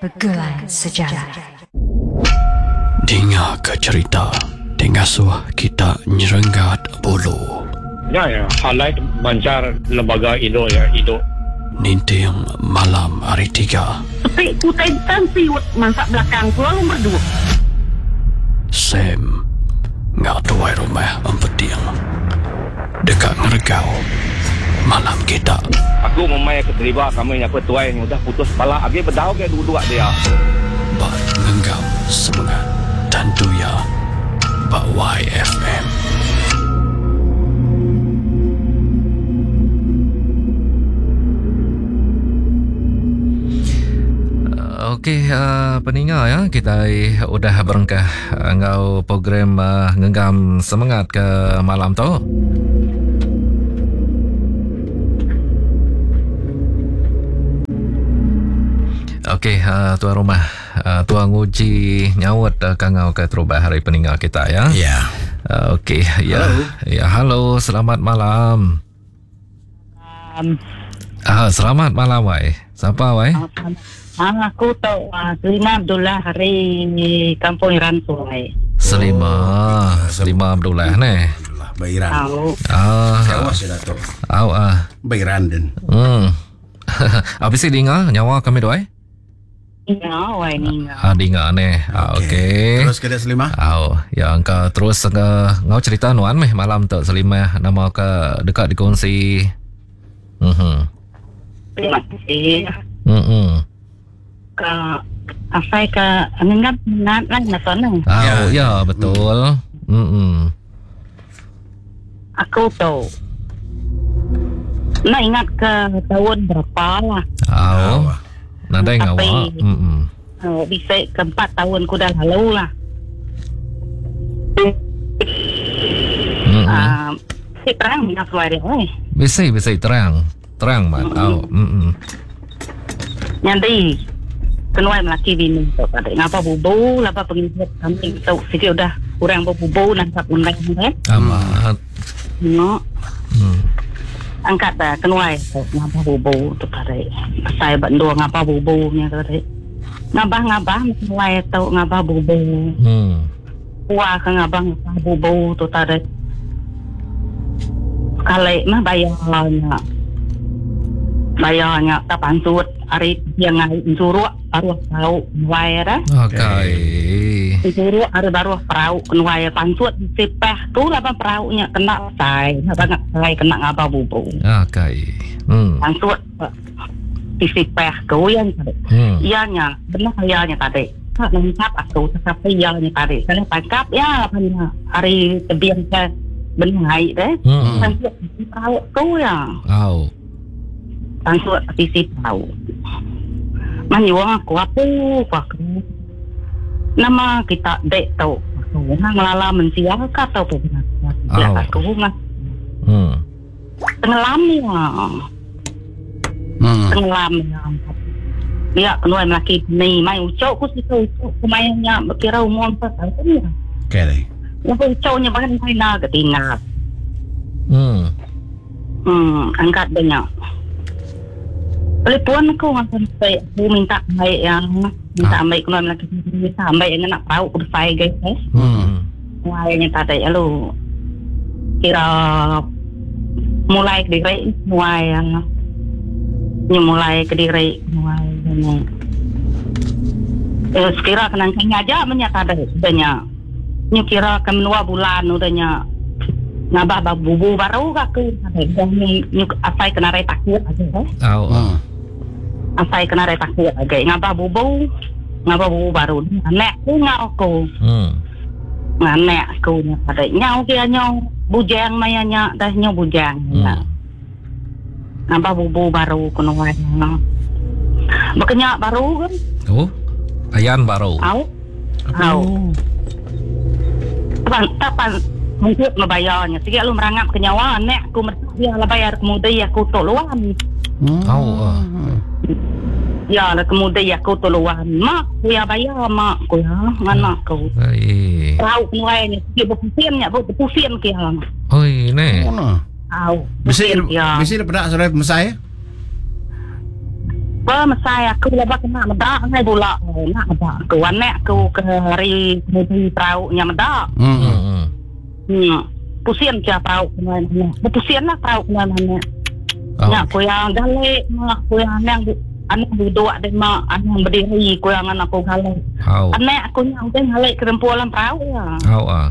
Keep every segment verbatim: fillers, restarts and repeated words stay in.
Begulai Sejalai. Dinga ke cerita ti ngasuh kita nyerenggat bulu. Nya ya, highlight mancar lembaga Indo ya, Indo. Ninting malam hari tiga. Sepi kutai tan siut masak belakang pulau nomor dua. Sam ngau tuai rumah empeting. Dekat ngeregau malam kita. Aku memai ke deriba kami nyapa tuai yang udah putus kepala agi bedau ke duduk dia. Ba ngenggam semangat tentu ya ba Y F M. Okey, uh, peninga ya, kita udah berengkah ngau program uh, ngenggam semangat ke malam tu. Okey, uh, tuan rumah, uh, tuan nguji nyaut uh, kangau ke terubah hari peninga kita ya. Ya. Yeah. Uh, Okey, ya. Halo. Ya, halo, selamat malam. Um, ah, selamat malam wai. Siapa wai? Ah, aku tu uh, Selima Abdullah hari Kampung Iran Sungai. Selima, oh, Selima Abdullah ne. Abdullah Bairan. Ah, Kawas ya Datuk. Au ah. Bairan den. Hmm. Habis dinga nyawa kami doi? Ninga, wai ninga. Ah, dinga ne. Ah, okey. Okay. Terus ke Selima? Au, yang ke terus ke ngau cerita nuan meh malam tu Selima nama ke dekat dikongsi. Mhm. Terima kasih. Mhm. Ke asai ke ngenggam ngat lah nak sana. Ah, ya, ya betul. Mhm. Aku tu nak ingat ke tahun berapa lah. Au. Nadai ngawak. Mhm. Uh, bisa ke empat tahun ku dah lalu lah. Mm-hmm. Uh, si terang nak suara dia. Bisa bisa terang. Terang mat. Au. Mhm. Nyandi kenuai melaki bini tu pada ngapa bubu lapa pengikut kami tu sikit udah kurang bubu nangkap undang kan. Amat. No. Hmm. Angkat dah kenuai ngapa bubu tu pada saya bandua ngapa bubu nya tu pada ngabah ngabah kenuai tu ngapa bubu. Hmm. Wah ke ngabah ngabah bubu tu tada kali mah bayarnya bayarnya tak pansut hari yang ngai suruh baru tahu nuai dah. Okey. Suruh hari baru perahu kenuai pansut sipeh tu lah perahunya kena sai, apa sai kena ngapa bubu. Okey. Hmm. Pansut sipeh ku yang tadi. Hmm. Ianya benar ianya tadi. Tak nangkap aku tetapi ianya tadi. Saya tangkap ya apa hari tebiang ke benai deh. Hmm. Pansut perahu tu ya. Au. Pansut sisi perahu. Manyuang aku apa aku. Nama kita dek tau. Aku ngelala mensia ka tau pun. Ya aku ngah. Hmm. Tenggelam ya. Hmm. Tenggelam ya. Dia keluar melaki ni mai ucok ku situ ucok ku mainnya kira umur empat tahun ya. Okey deh. Yang ucoknya bahkan main nak ketinggal. Hmm. Hmm, angkat banyak. Telefon aku sampai aku minta baik yang minta ambil keluar lagi minta ambil yang nak tahu aku saya guys. Hmm. Mulainya tadi lalu kira mulai ke diri mulai yang ni mulai ke diri mulai ni. Eh sekira kena aja banyak tadi banyak. Ni kira ke dua bulan udahnya ngabah bubu baru aku tadi ni ni asai kena rai takut aja. Au. Hmm. Asai kena rai takut aja ngabah bubu ngabah bubu baru anak ku ngau aku. Hmm. Anak aku nya pada nyau kia nyau bujang mayanya dah nyau bujang. Hmm. Ngabah bubu baru kuno wae. Bekenyak baru kan? Oh. Ayan baru. Au. Au. Tapan tapan mungkin membayarnya. Sikit lu merangap ke nyawa anak aku dia lah bayar kemudian aku toluan. Hmm. Au. Uh. Ya lah kemudian aku toluan. Mak ku ya bayar mak ku ya anak aku. Ai. Tahu kenuai ni sikit berpusing nya berpusing ke hang. Oi ne. Oh. Au. Bisi Ya. bisi pedak saudara mesai. Pemesai aku lepas kena medak ngai bulak nak medak aku anak aku ke hari mudi perahu nya medak. Hmm. Hmm. Hmm. Pusing cia perahu kena anak. Berpusing lah perahu kena anak. Oh. Nak ku yang galek mak ku yang anak anak duduk de mak anak berdiri ku yang anak aku galek. Au. Anak aku nya udah galek ke rempuan dalam perahu ya. Au ah.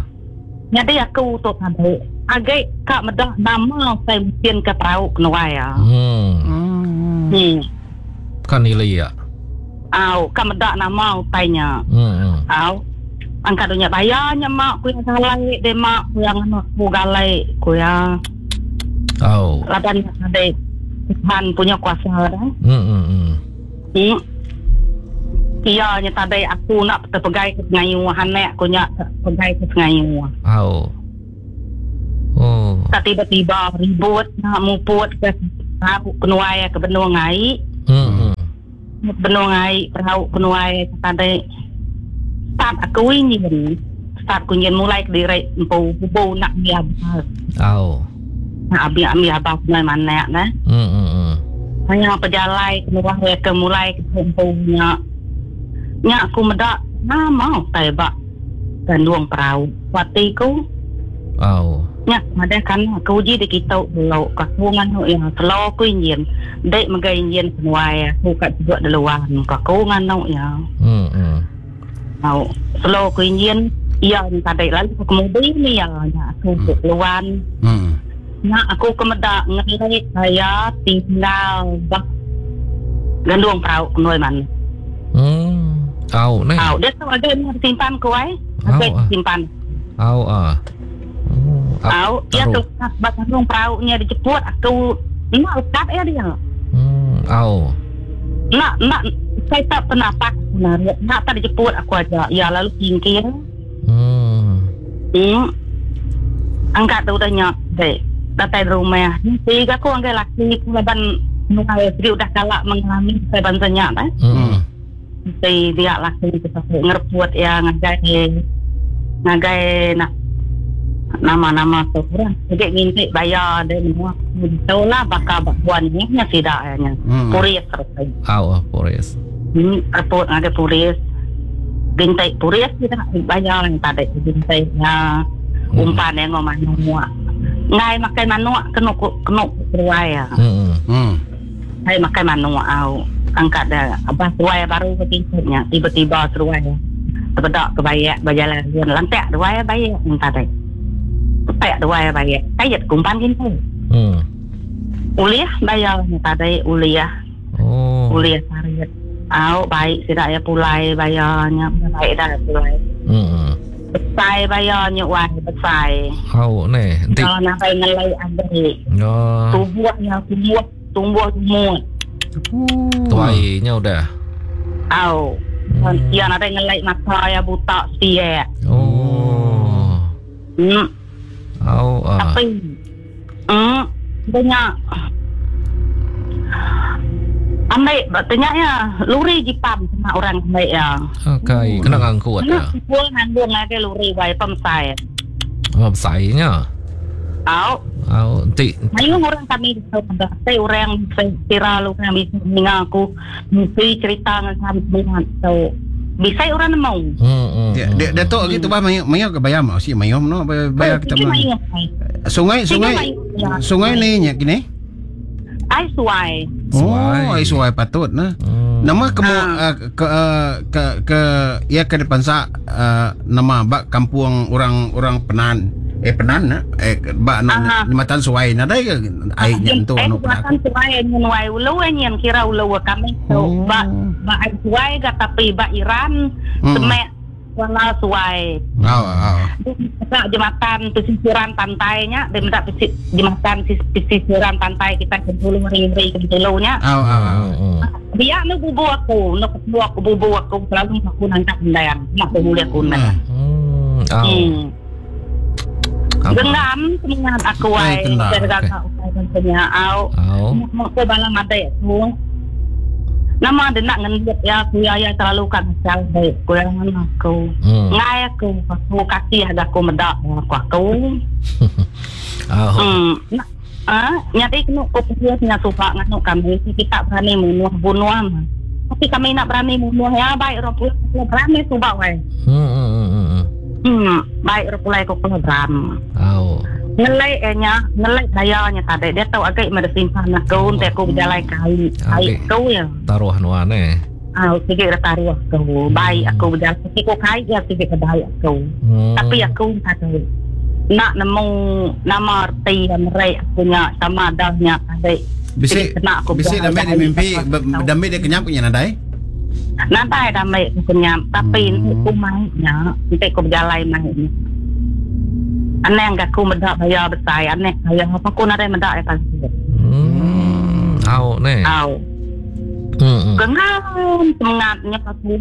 Jadi aku tu tadi agak kak medak nama saya mungkin ke perahu kena ya. Hmm. Hmm. Hmm. Kan nilai ya. Au, kak medak nama utainya. Hmm. Au. Angkat dunia bayarnya mak ku yang galai de mak ku yang anak ku galai ku yang Au. laban ada Tuhan punya kuasa dah. Hmm hmm hmm. Hmm. Iya nya tadi aku nak terpegai ke sengayu anak aku nya terpegai ke sengayu. Au. Oh. Tak tiba-tiba ribut nak muput ke perahu kenuai ke benung ai. Hmm. Benung ai perahu kenuai tadi start aku ingin start aku ingin mulai ke diri empu bubu nak biar Au. nak biar ambil abah kenai mana nah. Hmm hmm hmm. Hanya pejalai keluar ke mulai ke empunya. Nya aku medak nama tai bak gandung perahu. Watiku Au. nya ada kan aku uji di kita dulu aku nganu yang selo aku ingin dek megai ingin senuai aku kat juga di luar aku nganu ya. Hmm hmm. Au selo aku ingin iya tadi lalu aku kemudian ni ya nya aku ke luar. Hmm. Nya aku kemedak ngelek saya tinggal bak gandung perahu kenoi man. Hmm. Au ni. Au dia tu ada yang simpan ku ai. Au, Ada ah. simpan. Au ah. Oh, Au dia taruh. tu bak gandung perahu nya dijemput aku nak lekat ya dia. Hmm. Au. Nak nak saya tak pernah pak nak nak tak dijemput aku aja. Ya lalu singkir. Hmm. Hmm. Angkat tu dah nyak dek. Datai rumah. Tiga aku angkat laki aku laban nunggu jadi udah kalak mengalami saya bansanya eh. Hmm. Si dia laki kita ngereput ya ngagai ngagai nak nama-nama tu orang. Jadi ngintik bayar dia semua. Tahu lah bakal buan ni nya tidak nya. Hmm. Puris terus. Au ah, polis. Hmm, reput ngagai puris. Gintai puris kita bayar yang tadi gintai ya. Umpan yang ngomong manuk. Ngai makai manuk kena kena keruai ya. Hmm. Hmm. Saya makai manuk au. Angkat dah abah seruai baru ke tingkatnya tiba-tiba seruai. Terbedak ke bayak berjalan lantak dua bayak yang tadi. Petak dua bayak. Kayat kumpan gintai. Hmm. Uliah bayar yang tadi uliah. Oh. Uliah tarik. Au baik tidak ya pulai bayarnya baik dah pulai. Hmm. Besai bayarnya wah besai. Au ni. Nanti. Kalau nak ngelai adik. Ya. Tubuhnya tumbuh tumbuh semua. Tuainya udah. Au. Hmm. Yang ada ngelai mata ya buta setia. Oh. Hmm. Au ah. Tapi hmm banyak ambil tanya ya luri jipam sama orang ambil ya. Okey, kena ngangkut ya. Nak kumpul nanggung lagi luri wai pemsai. Oh, besainya. Au. Au, nanti Mayu orang kami tahu pada saya orang kira lu orang bisa mendengar aku mesti cerita dengan kami semua tahu. Bisa orang mau. Hmm, hmm. Dia dia datuk gitu bah mayu mayu ke bayar mau si mayu no bayar kita Sige, mah. mayu. Sungai Sige, sungai mayu. Ya. sungai ni nya kini. Ai suai. Oh, ai suai patut nah. Hmm. Nama kemu Ah. uh, ke, uh, ke ke ya ke depan sa uh, nama bak kampung orang orang Penan. Eh Penan na eh bak no Ah. jembatan suai na dai ke ai nya tu Eh, anu penak. buatan suai nyen wai ulu nyen kira ulu kami tu Oh. ba ba ai suai ga tapi ba Iran Hmm. semek wala suai. Au au. Dekat jembatan pesisiran pantainya, dia minta pesi, jembatan sis- pesisiran pantai kita Bintulu ring-ring Bintulunya. Au au au. Hmm. Dia nu bubu aku, nu ketua aku bubu aku selalu aku nangkap undang, nak boleh aku nak. Hmm. Au. Hmm. Apa? Genggam semangat aku Ai, ai, kena. gara-gara utai tentunya au. Au. Mau ke balang adek tu. Nama dia nak ngendut ya, aku ya ya terlalu kan asal baik. Kurang aku. Hmm. Ngai aku, aku kasih ada aku medak aku aku. Au. Hmm. Nak, Ah, jadi kena ko punya suka nganu kami kita berani bunuh bunuh. Tapi kami nak berani bunuh ya baik orang pulai berani subak wai. Hmm hmm hmm. Hmm, baik orang pulai ko program. Au. Ngelai nya, ngelai dayanya tadi dia tahu agak mada simpan aku untuk aku berjalan kai. Kai kau ya. Taruh nuan eh. Ah, sikit dah taruh aku. Baik aku berjalan sikit ko kai ya sikit baik aku. Tapi aku tadi nak nemu nama erti yang mereka punya sama adanya tadi. Bisi bisi damai di mimpi damai dia kenyap punya nadai. Nadai damai kenyap tapi aku mainnya, nanti aku berjalan mainnya. Aneh enggak aku mendak bayar besar, aneh bayar apa aku nadai mendak ya pasti. Hmm, au ne. Au. Hmm. Kengal semangatnya aku.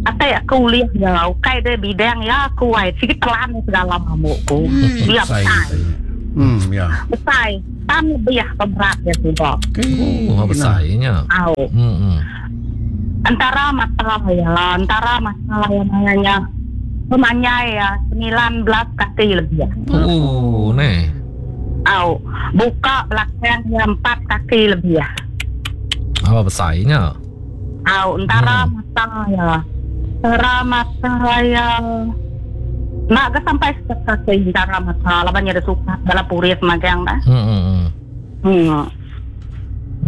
Atai aku lihat ya, kai dia bidang ya aku ai sikit telan segala mamukku. Dia besar. Hmm, ya. Besar. Tan lebih berat ya sudah. Oh, besarnya. Au. Hmm. Antara masalah ya, antara masalah yang namanya pemanyai ya sembilan belas kaki lebih. Oh, ne. Au, buka belakang ya empat kaki lebih. Apa besarnya? Au, antara hmm. mata ya. Antara mata ya. Nak ke sampai sekaki antara mata laban ada suka dalam puris magang dah. Hmm. Hmm. Hmm.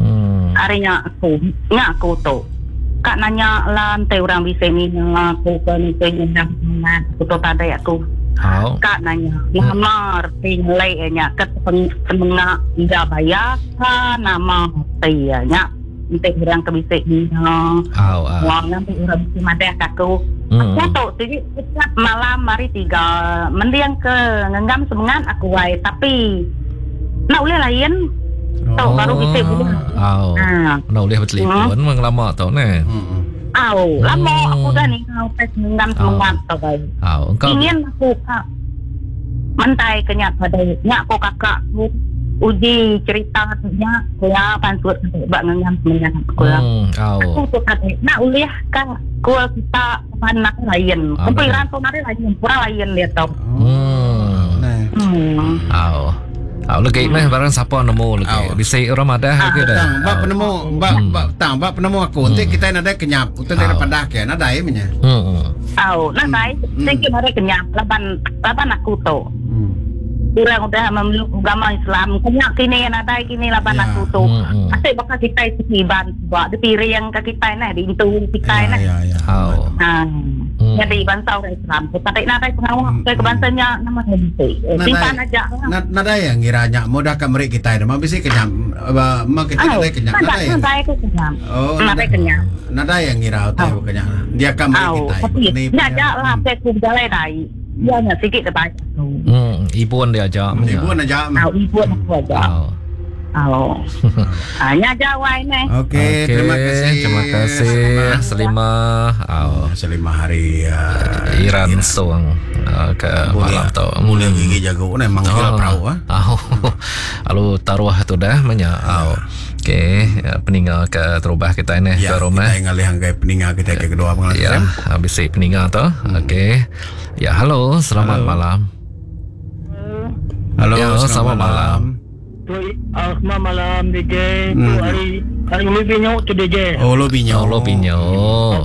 Hmm. Harinya aku, nya aku tu. Kak nanya lah nanti orang bisa ni aku ke ni nyenang aku tu tadi aku. Oh. Kak nanya, nama erti ngelai nya ke penengah ida bayar nama erti nya. Nanti orang ke bisik ni. Oh, oh. Wang nanti orang bisik madah aku. Hmm. Aku tu jadi setiap malam hari tiga mendiang ke ngenggam semangat aku wai tapi nak boleh lain. Oh. Tau baru bisik boleh. Oh. Ha. Nak boleh bertelefon hmm. memang lama tau ne. Hmm. Au, lama hmm. aku dah ni kau tes ngenggam semangat tau wai. Oh, engkau ingin aku kak mentai kenyak pada nyak aku kakak aku uji cerita nya kuya pansut bak ngengam semengat kuya. Hmm, aku tu kata nak uliah ka kual kita panak lain. Kumpiran tu nari lain, kurang lain dia tau. Hmm. Hmm. Au. Au lagi meh barang siapa nemu lagi. Bisa orang madah lagi dah. Tang bab penemu bab bab tang bab penemu aku. Nanti kita nadai kenyap, untuk dari padah ke nadai menya. Hmm. Au, nadai. Sing nadai kenyap laban laban aku tu. Kurang udah memeluk agama Islam. Kena kini nadai kini laban aku tu. Asyik bakal kita iban buat di piring ke kita nah di intu kita nah. Ya ya. Oh. Ha. Jadi bangsa orang Islam. Tapi nadai pengawal ke kebangsanya nama nanti. Simpan aja. Nadai yang ngiranya mudah ka merik kita dah. Mesti kenyam ma kita nadai kenyam. Nadai nadai aku kenyam. Oh, nadai kenyam. Nadai yang ngira utai bukannya. Dia ka merik kita. Ni aja lah aku berjalan dai. Dia nak sikit terbaik. Hmm, ibu dia ajak. Ibu ajak. Ah, ibu aku ajak. Oh. Hanya jawab ni. Okey, terima kasih. Terima kasih Selima. Oh, Selima hari uh, Iran Song uh, ke malam tu. Mula gigi jago ni manggil perahu ah. Oh. Lalu taruh tu dah banyak. Oh. Okey, peninggal ke terubah kita ni ya, ke rumah. Kita ngalih anggai peninggal kita ke kedua pengalas. Ya, habis peninggal tu. Hmm. Okey. Ya, halo, selamat halo. malam. Halo, ya, selamat, selamat malam. malam. Tu selamat malam D J. Tu Hmm. hari hari lu binyo tu D J. Oh, lu binyo. Oh, lu binyo.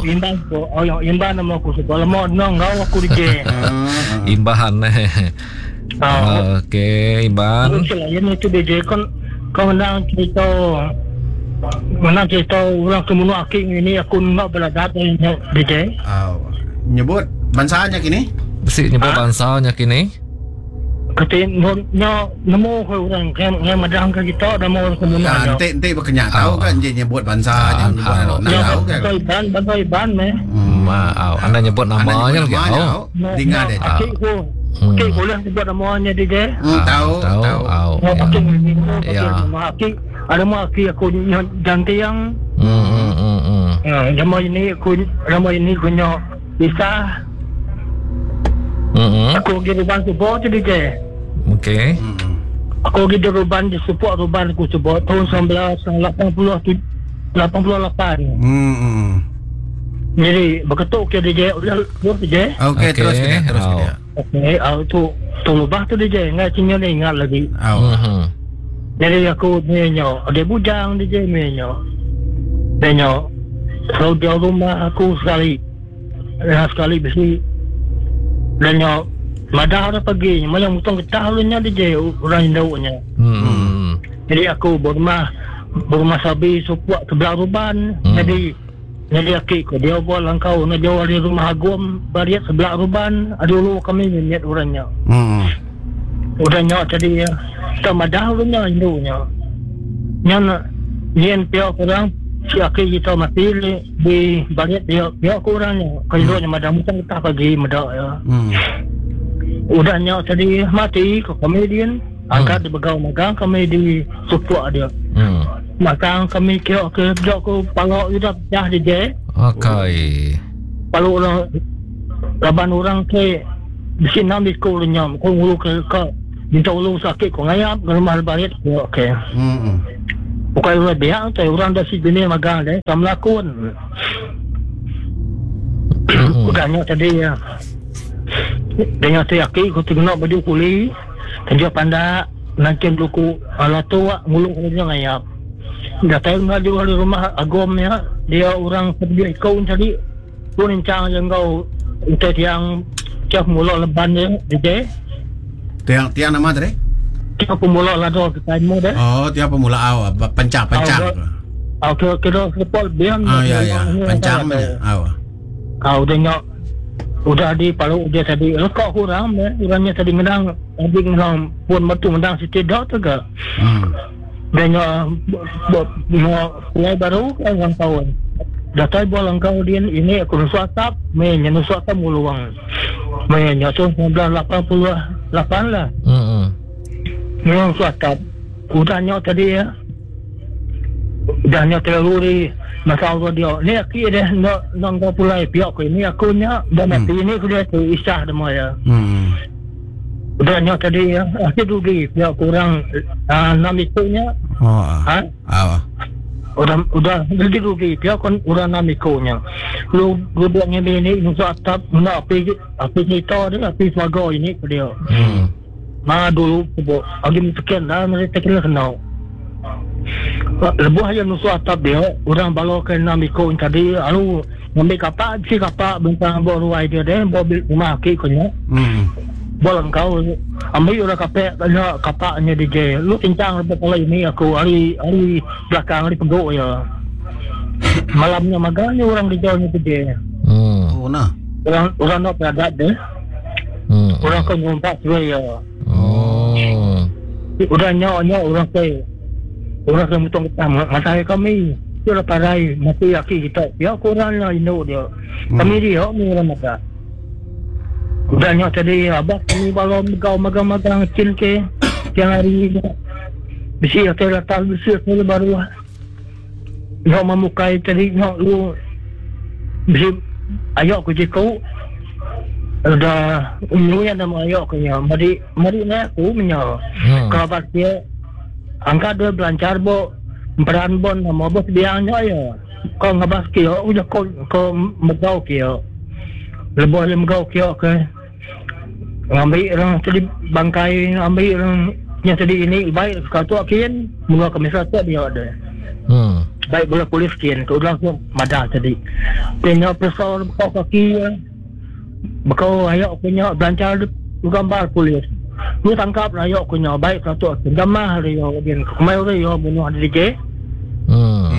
Imban ko. Oh, yang imban nama aku sebab lama nang ngau aku D J. Imbahan eh. Okey, Imban. Ini tu D J kon kau menang cerita menang cerita orang kemunuh aking ini aku nak belajar dari D J. Oh, nyebut bangsanya kini? Besi nyebut bangsanya kini? Kata nyo nemu ke orang yang yang madang ke kita dah mau kemunuh. Nah, nanti nanti berkenyak tahu kan je nyebut bangsa je nyebut nak tahu kan. Bangsa Iban, bangsa Iban meh. Maaf, anda nyebut namanya lagi. Oh, dengar dia. Aku Okey, boleh sebut namanya D J. Tahu, tahu. Ya. Okey, ada mak aki aku janti yang. Hmm hmm hmm. Ya, nama ini aku nama ini aku nyo bisa. Hmm. Aku pergi ruban support tu D J. Okey. Aku pergi ruban di support ruban aku support tahun sembilan belas lapan puluh lapan puluh lapan. Hmm. Jadi berketuk ke D J udah terus D J. Okey, terus kita terus kita. Okey, uh, tu tu lubah tu D J ngai cinya ni ingat lagi. Oh. Mhm. Jadi aku ni nyo, ada bujang D J ni nyo. Dia nyo kalau dia rumah aku sekali. Ya sekali besi. Dan nyo madah dah pagi, macam mutong getah lu nya D J orang induknya. Hmm. Jadi aku berumah berumah sabi supuak sebelah ruban. Hmm. Jadi jadi aki ko dia buat langkau na jauh dari rumah agum bariat sebelah ruban dulu kami niat orangnya. Hmm. Orangnya tadi ya. Tak madah orangnya induknya. Nyan nyen pihak orang si aki kita mati di, di bariat dia pihak orangnya. Kalau induknya madah mutong getah pagi madah ya. Hmm. Udahnya tadi mati ke komedian angkat di begau magang kami di supuak dia. Hmm. Magang kami kira ke jok ke palok udah pecah di je. Okey. Palok orang laban orang ke di sini enam ikut lenyam ko ngulu ke ke minta ulung sakit ko ngayap ke rumah balik. Okey. Hmm. Bukan orang biak tu orang dah si jenis magang deh tak melakon. Udahnya tadi ya. Dengan tu yaki ku tengok baju kuli kerja pandak nanti luku ala tua ngulung kerja ngayap. Datang ngaju di rumah agomnya dia orang pergi kau tadi tu nincang yang kau untuk yang tiap mula leban dia D J. Tiang tiang nama tadi? Tiap pemula lado kita mu deh. Oh, tiap pemula awak pancang pancang. Oh, kira kira sepol biang. Ah ya ya, pancang ya. Awak. Kau tengok udah di palu dia tadi lekak kurang eh orangnya tadi ngedang tadi ngedang pun metu ngedang siti dak tu ke. Hmm. Dan mau mulai baru kan orang tahun. Datai buat langkau dia ini aku nusuk atap, me nusuk atap muluang. Me nusuk sembilan belas lapan puluh lapan lah. Hmm. Nusuk atap. Udahnya tadi ya. Udahnya terlalu di masa Allah dia. Ni aku dia nak nak kau pulai pihak aku ini aku nya dah mati ini aku dia tu isah demo ya. Hmm. Udahnya tadi ya aku rugi pihak kurang enam ikunya. Oh. Ha? Ah. Udah udah rugi rugi pihak kon orang enam ikunya. Lu lu buat ni ni nusuk atap nak api api cerita dia api swaga ini ke dia. Hmm. Ma dulu buat agi sekian dah mereka kena kenal. Lebuh aja nusuk atap dia orang bawa ke enam ikut tadi lalu ngambil kapak si kapak bentang bawa ruai dia deh bawa rumah aki konya. Hmm. Bawa kau ambil orang kapak kena kapaknya D J lu tincang lebuh kalau ini aku hari hari belakang hari peguk ya. Malamnya magangnya orang D J-nya D J. Hmm. Oh nah. Orang orang nak beradat deh. Hmm. Orang kau ngumpat juga ya. Oh. Udah nyok nyok orang ke orang ke mutong getah mata kami dia lah parai mati aki kita ya kurang lah induk dia. Hmm. Kami dia ni orang mata. Udah nyok tadi abah kami balom kau magang-magang cil ke tiang hari besi hotel atas besi hotel baru nyok memukai tadi nyok lu besi ayok ku jiku udah ulunya nama ayok ku nya mari mari na aku menyo. Hmm. Kerabat dia angkat dua belancar bo peran bon nama bos biangnya ya. Kau ngabas kio udah kau kau megau kio. Lebuh le megau kio ke. Ngambil orang tadi bangkai ambil orang yang tadi ini baik kau tu akin mula kami satu dia ada. Hmm. Baik bola polis kian kau langsung madah tadi. Tengok pesawat kau kaki bekau ayok punya belancar gambar polis. Lu tangkap lah yok punya baik satu jamah hari yo bin kemai ore yo bunuh D J. Hmm.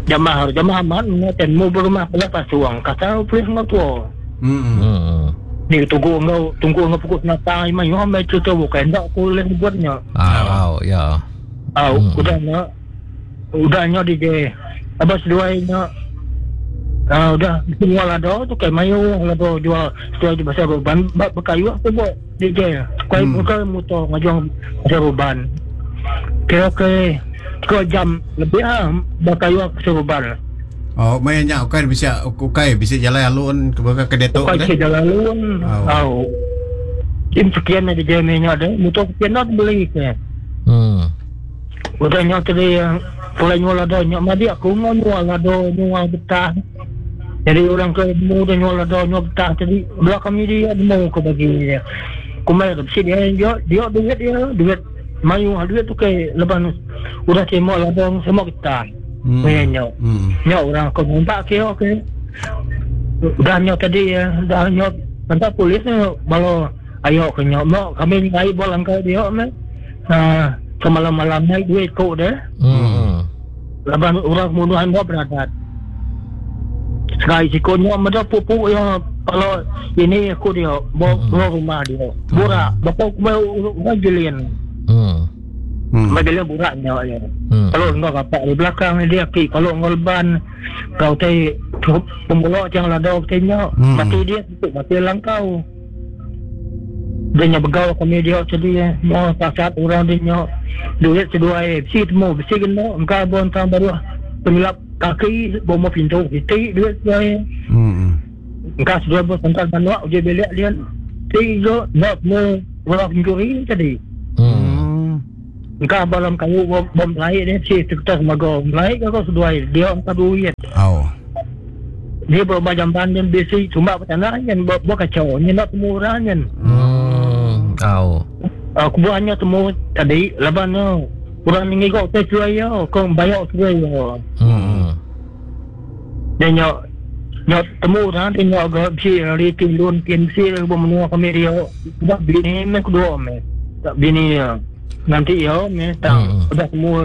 Jamah jamah aman ten mu berumah pula pasuang kata polis ngau tua. Hmm. Hmm. Ni tunggu ngau tunggu ngau pukul senatang ima yo amai cerita bukan dak aku leh buatnya. Ah, wow, ya. Ah, Hmm. udah nya udah nya D J. Abas dua nya. Ah, udah semua lado tu kai mayu lado jual jual di pasar ruban bak berkayu aku buat D J. Kai Hmm. bukan motor ngajuang pasar ruban. Kira ke tiga jam lebih ah berkayu aku pasar ruban. Oh, mainnya ukai bisa ukai bisa jalan alun ke ke detok Ukai bisa jalan alun. Oh. Oh. Im sekian D J nya ada motor sekian nak beli ke. Hmm. Udah nyok tadi yang pulai nyual lado nyok madi aku mau nyual lado nyual betah. Jadi orang ke nemu dia nyual lada nyual getah tadi bela kami dia nemu ke bagi dia. Kumbai ke bisi dia dia dia duit dia duit mayuh duit tu ke leban udah terima lada semua getah. Hmm. Nyo. Hmm. Nyo orang ke ngumpak ke ke. Udah nyo tadi ya, udah nyo mantap polis nyo balo ayo ke nyo mo kami ngai bol angkai dia me. Ha semalam-malam naik duit ko deh. Hmm. Laban orang bunuhan buat beradat. Sekali sikonnya meda pupuk ya kalau ini aku dia bawa hmm. rumah dia. Burak, bapa aku orang jelian. Hmm. Hmm. Bagi dia buraknya ya. Hmm. Kalau enggak kapak di belakang dia ki, kalau enggak leban kau te pemulak yang lada tenya Hmm. mati dia tutup mati langkau. Dia nya begau kami dia jadi mau pasat orang dia nya duit seduai besi temu besi kena engkau bon tang baru penyelap kaki bomo pintu kita duit seduai Hmm. engkau seduai bos tangkal manuak uji belik dia tiga nak mu orang pencuri tadi Hmm. Hmm. engkau balam kayu bom, bom lain dia si kita semago lain kau seduai dia engkau duit Au. dia berubah jamban dan besi cuma tanah yang buat kacau ni nak temu orang kan Hmm. Au. aku buatnya temu tadi laban no orang ni ngigok teh seduai yo kau bayar seduai yo Hmm. dia nyok nyok temu orang dia nyok agak besi hari tilun pin besi bom menua kami dia sebab bini me kedua me tak bini ya nanti yo me tak Hmm. udah semua